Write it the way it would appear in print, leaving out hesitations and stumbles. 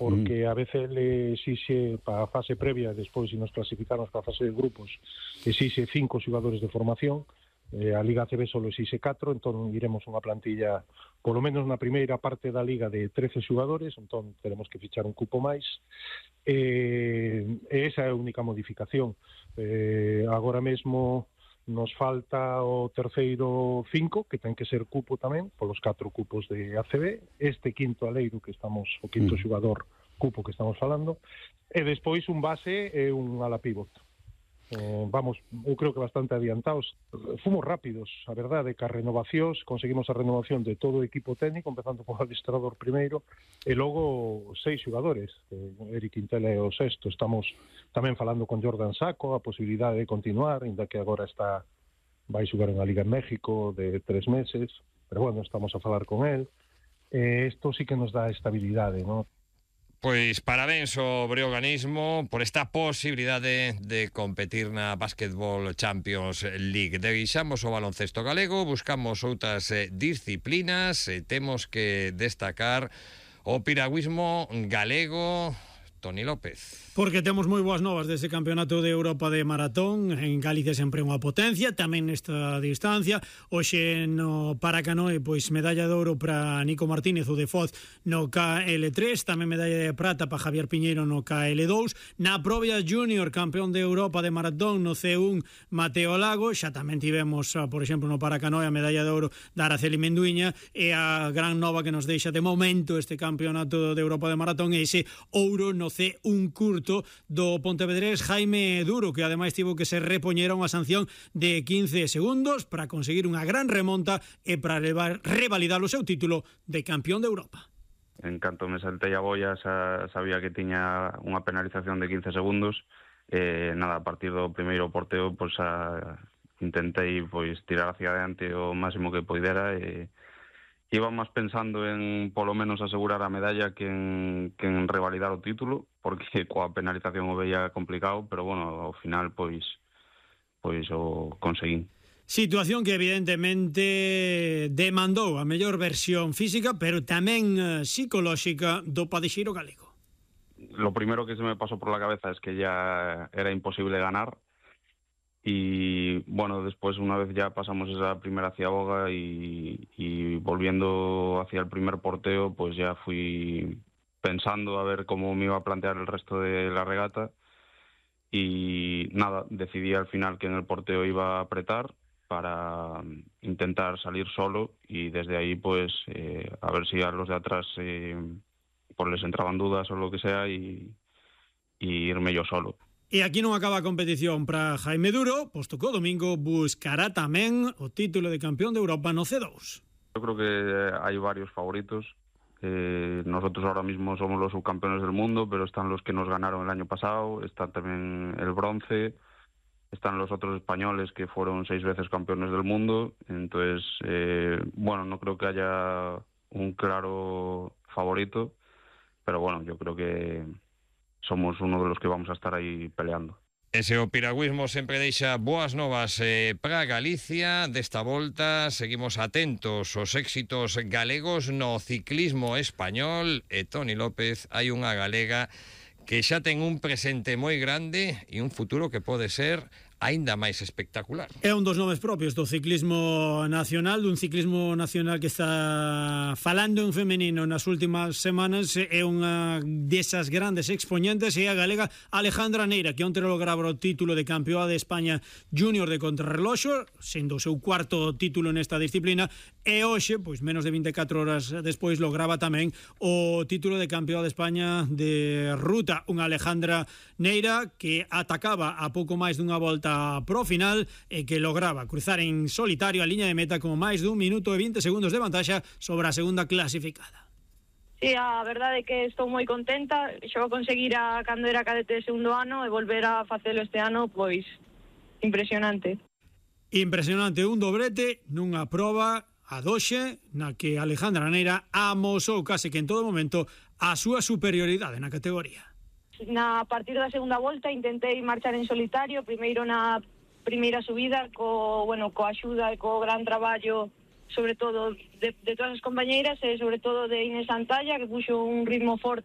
porque a veces le exixe para a fase previa, despois se nos clasificarnos para a fase de grupos, exixe 5 xogadores de formación, a Liga ACB só exixe 4, entón iremos unha plantilla, polo menos na primeira parte da Liga, de 13 xogadores, entón teremos que fichar un cupo máis, e esa é a única modificación. Agora mesmo nos falta o terceiro 5, que ten que ser cupo tamén, polos 4 cupos de ACB, este quinto aleiro que estamos, o quinto xogador cupo que estamos falando, e despois un base e un ala pivot. Vamos, eu creo que bastante adiantados. Fomos rápidos, a verdade, que as renovacións, conseguimos a renovación de todo o equipo técnico, empezando por adestrador primeiro, e logo 6 xogadores. Eric Quintela é o sexto. Estamos tamén falando con Jordan Sacco, a posibilidade de continuar, ainda que agora vai xogar unha Liga en México de 3 meses, pero bueno, estamos a falar con él. Isto sí que nos dá estabilidade, non? Pois parabéns ao Breoganismo por esta posibilidade de competir na Basketball Champions League. Deixamos o baloncesto galego, buscamos outras disciplinas e temos que destacar o piragüismo galego. Toni López. Porque temos moi boas novas dese Campeonato de Europa de Maratón. En Galicia sempre unha potencia, tamén nesta distancia. Hoxe no Paracanoe, pois medalla de ouro para Nico Martínez, o de Foz, no KL3, tamén medalla de prata para Javier Piñeiro no KL2. Na Probia Junior, campeón de Europa de Maratón no C1, Mateo Lago. Xa tamén tivemos, por exemplo, no Paracanoe a medalla de ouro da Araceli Menduiña, e a gran nova que nos deixa de momento este Campeonato de Europa de Maratón é ese ouro no C1 curto do pontevedrés Jaime Duro, que ademais tivo que se repoñera unha sanción de 15 segundos para conseguir unha gran remonta e para revalidar o seu título de campeón de Europa. En canto me saltei a boia sabía que tiña unha penalización de 15 segundos, nada, a partir do primeiro porteo pois intentei pois tirar hacia adiante o máximo que poidera, e iba máis pensando en polo menos asegurar a medalla que en revalidar o título, porque coa penalización o veía complicado, pero bueno, ao final pois o conseguín. Situación que evidentemente demandou a mellor versión física, pero tamén psicolóxica do padexeiro galego. Lo primero que se me pasó por la cabeza es que ya era imposible ganar. Y bueno, después una vez ya pasamos esa primera ciaboga y volviendo hacia el primer porteo, pues ya fui pensando a ver cómo me iba a plantear el resto de la regata, y nada, decidí al final que en el porteo iba a apretar para intentar salir solo, y desde ahí pues a ver si a los de atrás pues les entraban dudas o lo que sea, y irme yo solo. E aquí non acaba a competición para Jaime Duro, posto que o domingo buscará tamén o título de campeón de Europa no C2. Yo creo que hay varios favoritos. Nosotros ahora mismo somos los subcampeones del mundo, pero están los que nos ganaron el año pasado, está también el bronce, están los otros españoles que fueron 6 veces campeones del mundo. Entonces, bueno, no creo que haya un claro favorito, pero bueno, yo creo que somos uno de los que vamos a estar aí peleando. Ese o piragüismo sempre deixa boas novas para Galicia. Desta volta seguimos atentos aos éxitos galegos no ciclismo español, e Toni López, hai unha galega que xa ten un presente moi grande e un futuro que pode ser aínda máis espectacular. É un dos nomes propios do ciclismo nacional, dun ciclismo nacional que está falando en femenino nas últimas semanas. É unha desas grandes expoñentes, é a galega Alejandra Neira, que onte lograba o título de campeoa de España júnior de contrarreloxo, sendo o seu cuarto título nesta disciplina, e hoxe, pois menos de 24 horas despois, lograba tamén o título de campeoa de España de ruta. Unha Alejandra Neira que atacaba a pouco máis dunha volta pro final e que lograba cruzar en solitario a liña de meta con máis dun minuto e 20 segundos de vantaxa sobre a segunda clasificada. Sí, a verdade é que estou moi contenta. Xo conseguir cando era cadete de segundo ano e volver a facelo este ano, pois impresionante. Impresionante, un dobrete nunha proba a doxe na que Alejandra Neira amosou case que en todo momento a súa superioridade na categoría. A partir da segunda volta intentei marchar en solitario, primeiro na primeira subida coa axuda e co gran traballo, sobre todo de todas as compañeiras, e sobre todo de Inés Santalla, que puxo un ritmo forte